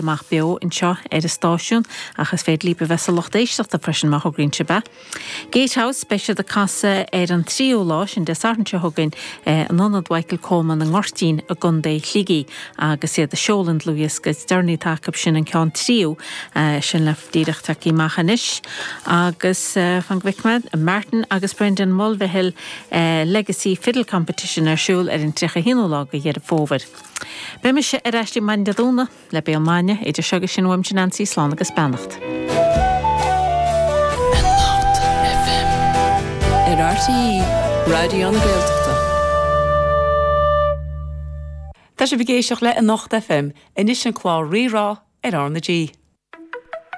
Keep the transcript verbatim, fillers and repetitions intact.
amach beo anseo ar an stáisiún ach is féidir libh a bheith sa lucht éisteachta freisin má thograíonn sibh é. Gatehouse beidh siad ag casadh ar an tríú lá sin Dé Sathairn seo chugainn in Ionad Mhichael Coleman i nGoirtín i gContae Shligigh agus iad ag seoladh an dlúthdhiosca is deireanaí atá acu sin an ceann tríú sin le díreach tagtha amach anois agus fan go bhfeicfidh mé Martin agus Brendan Mulvihill Legacy Fiddle Competition ar siúl ar an tríocha haonú lá de Dheireadh Fómhair. Beidh mise ar ais maidin Dé Domhnaigh le Béal Maidine idir seo agus sin uaimse Nancy slán agus beannacht. Anocht FM ar RTÉ Raidió na Gaeltachta. Tá sibh ag éisteacht le Anocht FM anois an clár Rí-Rá ar R na G.